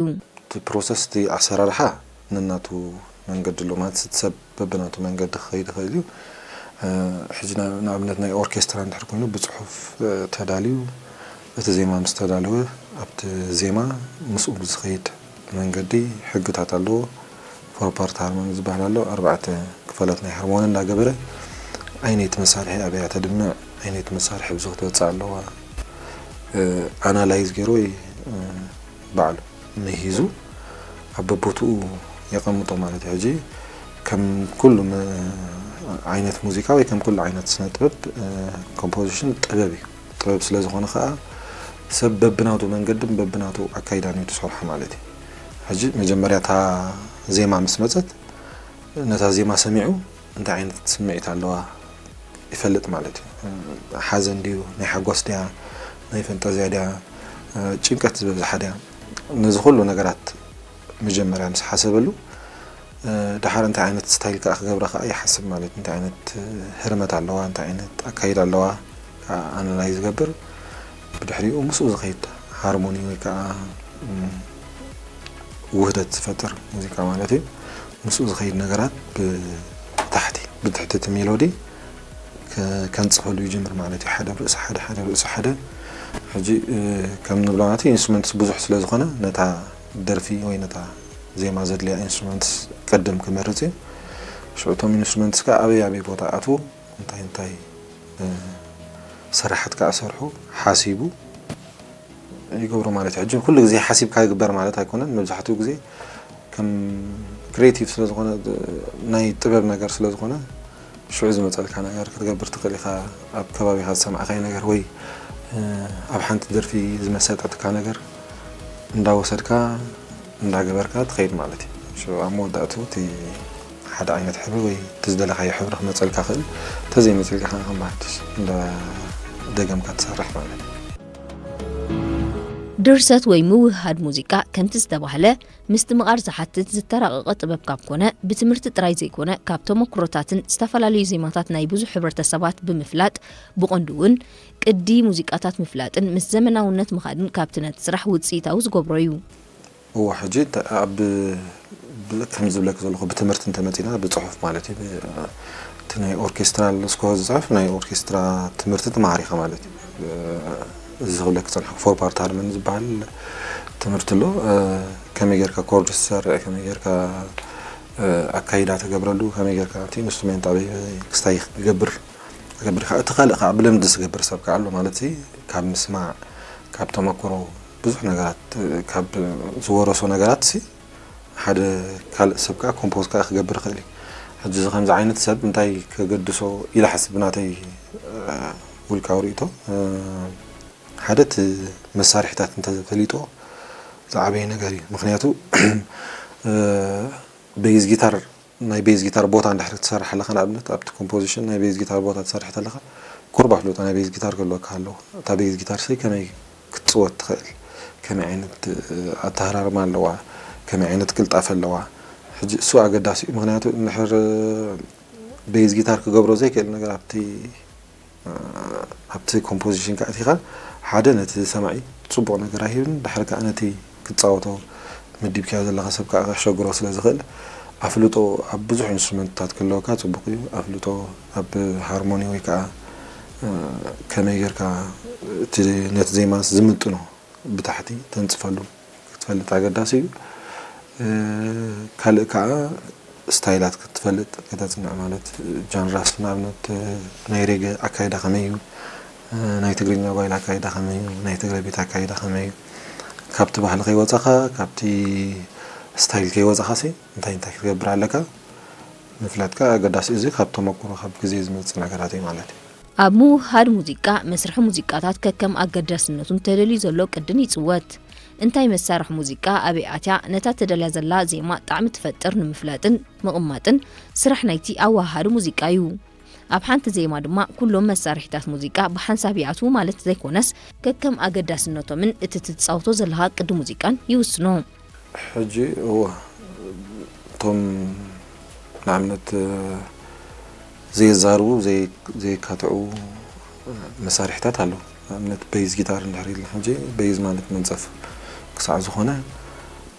እቲ ፕሮሰስ፣ እቲ ኣሰራርሓ ነናቱ መንገዲ ኣሎ። ማለት እቲ ሰብ በብናቱ መንገዲ ክኸይድ ይኽእል እዩ። ሕጂ ንኣብነት ናይ ኦርኬስትራ እንድሕር ኮይኑ ብፅሑፍ ተዳልዩ፣ እቲ ዜማ ምስ ተዳለወ ኣብቲ ዜማ ምስኡ ብዝኸይድ መንገዲ ሕግታት ኣለዎ። ፎር ፓርት ሃርሞኒ ዝበሃል ኣሎ። ኣርባዕተ ክፋላት ናይ ሃርሞኒ እንዳገበረ፣ ኣይነይቲ መሳርሒ ኣበያ ተድምዕ፣ ኣይነይቲ መሳርሒ ብዙ ክትበፅእ ኣለዋ፣ ኣናላይዝ ገይሩ ወይ ባዕሉ ምሂዙ ኣብ በቦትኡ የቐምጦ ማለት እዩ። ሕጂ ከም ኩሉ ዓይነት ሙዚቃ ወይ ከም ኩሉ ዓይነት ስነ ጥበብ፣ ኮምፖዚሽን ጥበብ እዩ። ጥበብ ስለ ዝኾነ ከዓ ሰብ በብናቱ መንገድን በብናቱ ኣካይዳን እዩ ዝሰርሖ ማለት እዩ። ሕጂ መጀመርያ እታ ዜማ ምስ መፀት፣ ነታ ዜማ ሰሚዑ እንታይ ዓይነት ስምዒት ኣለዋ ይፈልጥ ማለት እዩ። ሓዘን ድዩ፣ ናይ ሓጎስ ድያ፣ ናይ ፈንጠዝያ ድያ፣ ጭንቀት ዝበዝሓ ድያ? ነዚ ኩሉ ነገራት መጀመርያ ምስ ሓሰበሉ፣ ደሓር እንታይ ዓይነት ስታይል ከዓ ክገብራ ከዓ ይሓስብ ማለት እዩ። እንታይ ዓይነት ህርመት ኣለዋ፣ እንታይ ዓይነት ኣካይዳ ኣለዋ፣ ኣናላይዝ ዝገብር። ብድሕሪኡ ምስኡ ዝኸይድ ሃርሞኒ ወይ ከዓ ውህደት ዝፈጥር ሙዚቃ ማለት እዩ። ምስኡ ዝኸይድ ነገራት ብታሕቲ፣ ብትሕቲ እቲ ሜሎዲ ከንፅፈሉ ይጅምር ማለት እዩ። ሓደ ርእሲ ሓደ፣ ሓደ ርእሲ ሓደ። ሕጂ ከም ንብሎ ማለት ኢንስትሩመንትስ ብዙሕ ስለ ዝኾነ፣ ነታ ደርፊ ወይ ነታ ዜማ ዘድልያ ኢንስትሩመንትስ ቅድም ክመርፅ እዩ። ሽዑ እቶም ኢንስትሩመንትስ ከዓ ኣበይ ኣበይ ቦታ ኣትዉ፣ እንታይ እንታይ ስራሓት ከዓ ሰርሑ ሓሲቡ ይገብሮ ማለት እዩ። ሕጂ ኩሉ ግዜ ሓሲብካ ይግበር ማለት ኣይኮነን። መብዛሕትኡ ግዜ ከም ክሬቲቭ ስለ ዝኾነ፣ ናይ ጥበብ ነገር ስለ ዝኾነ፣ ሽዑ ዝመፀልካ ነገር ክትገብር ትኽእል ኢኻ። ኣብ ከባቢኻ ዝሰማዕካዮ ነገር ወይ ኣብ ሓንቲ ደርፊ ዝመሰጠትካ ነገር እንዳወሰድካ እንዳገበርካ ትኸይድ ማለት እዩ። ሽዑ ኣብ መወዳእትኡ እቲ ሓደ ዓይነት ሕብሪ ወይ እቲ ዝደለኻዮ ሕብሪ ክመፀልካ ክእል፣ ተዘይመፅልካ ከዓ ከም ሓድሽ እንዳደገምካ ትሰርሕ ማለት እዩ። ድርሰት ወይ ምውህሃድ ሙዚቃ ከምቲ ዝተባህለ ምስትምቓር ዝሓትት ዝተራቐቐ ጥበብ ካብ ኮነ፣ ብትምህርቲ ጥራይ ዘይኮነ ካብ ተመኩሮታትን ዝተፈላለዩ ዜማታት ናይ ብዙሕ ሕብረተሰባት ብምፍላጥ፣ ብቐንዱ እውን ቅዲ ሙዚቃታት ምፍላጥን ምስ ዘመናውነት ምኻድን ካብቲ ነቲ ስራሕ ውፅኢታዊ ዝገብሮ እዩ። እወ፣ ሕጂ ኣብ ከም ዝብለክ ዘለኹ ብትምህርቲ እንተመፂና፣ ብፅሑፍ ማለት እዩ። እቲ ናይ ኦርኬስትራል ስኮር ዝፅሕፍ ናይ ኦርኬስትራ ትምህርቲ ትመሃር ኢኻ ማለት እዩ። እዚ ክብለክ ዝፀንሐ ፎር ፓርት ሃርመኒ ዝበሃል ትምህርቲ ኣሎ። ከመይ ጌርካ ኮርድ ትሰርዕ፣ ከመይ ጌርካ ኣካይዳ ተገብረሉ፣ ከመይ ጌርካ እቲ ኢንስትሩሜንት ኣበይ ክስታይ ክገብር ትገብር ኢኻ። እቲ ካልእ ከዓ ብልምዲ ዝገብር ሰብ ከዓ ኣሎ ማለት እዩ። ካብ ምስማዕ፣ ካብ ተመክሮ ብዙሕ ነገራት፣ ካብ ዝወረሶ ነገራት ሲ ሓደ ካልእ ሰብ ከዓ ኮምፖዝ ከዓ ክገብር ይኽእል እዩ። ሕጂ እዚ ከምዚ ዓይነት ሰብ እንታይ ከገድሶ ኢለ ሓስብ፣ ብናተይ ውልቃዊ ርእይቶ፣ ሓደ እቲ መሳርሒታት እንተፈሊጦ ዝዓበየ ነገር እዩ። ምክንያቱ ቤዝ ጊታር ናይ ቤዝ ጊታር ቦታ እንድሕር ትሰርሕ ኣለኻ፣ ንኣብነት ኣብቲ ኮምፖዚሽን ናይ ቤዝ ጊታር ቦታ ትሰርሕ ተለኻ፣ ቁሩብ ኣፍልጦ ናይ ቤዝ ጊታር ክህልወካ ኣለዎ። እታ ቤዝ ጊታር ሰይ ከመይ ክትፅወት ትኽእል፣ ከመይ ዓይነት ኣተሃራርማ ኣለዋ፣ ከመይ ዓይነት ቅልጣፈ ኣለዋ። ሕጂ እሱ ኣገዳሲ እዩ። ምክንያቱ እንድሕር ቤዝ ጊታር ክገብሮ ዘይክእል ነገር ኣብቲ ኣብቲ ኮምፖዚሽን ከኣቲኻ ሓደ ነቲ ሰማዒ ፅቡቕ ነገር ኣይህብን፣ ድሕሪ ከዓ ነቲ ክትፃወቶ መዲብካዮ ዘለኻ ሰብ ከዓ ከሸግሮ ስለ ዝኽእል ኣፍልጦ ኣብ ብዙሕ ኢንስትሩመንትታት ክህልወካ ፅቡቕ እዩ። ኣፍልጦ ኣብ ሃርሞኒ ወይ ከዓ ከመይ ጌርካ ነቲ ዜማ ዝምጥኖ ብታሕቲ ተንፅፈሉ ክትፈልጥ ኣገዳሲ እዩ። ካልእ ከዓ ስታይላት ክትፈልጥ ከተፅንዕ ማለት ጃንራስ ንኣብነት ናይ ሬገ ኣካይዳ ከመይ እዩ፣ ናይ ትግርኛ ጓይላ ኣካይዳ ከመይ እዩ፣ ናይ ትግረ ቤት ኣካይዳ ከመይ እዩ፣ ካብቲ ባህሊ ከይወፃኻ ካብቲ ስታይል ከይወፃኻ ሲ እንታይ እንታይ ክትገብር ኣለካ ምፍላጥካ ኣገዳሲ። እዚ ካብ ተመኩሮ ካብ ግዜ ዝመፅእ ነገራት እዩ ማለት እዩ። ኣብ ምውህሃድ ሙዚቃ መስርሒ ሙዚቃታት ከከም ኣገዳስነቱን ተደልዩ ዘሎ ቅድን ይፅወት። እንታይ መሳርሒ ሙዚቃ ኣበይ ኣትያ ነታ ተደልያ ዘላ ዜማ ጣዕሚ ትፈጥር ንምፍላጥን ምቕማጥን ስራሕ ናይቲ ኣወሃሃዲ ሙዚቃ እዩ። ኣብ ሓንቲ ዜማ ድማ ኩሎም መሳርሒታት ሙዚቃ ብሓንሳብ ይኣትዉ ማለት ዘይኮነስ ከከም ኣገዳስነቶምን እቲ ትፃወቶ ዘለኻ ቅዲ ሙዚቃን ይውስኖ። ሕጂ እወ እቶም ንኣብነት ዘየዛርቡ ዘየካትዑ መሳርሒታት ኣለዉ። ንኣብነት በይዝ ጊታር እንድሕር ኢልና ሕጂ በይዝ ማለት መንፀፍ ክሳዕ ዝኾነ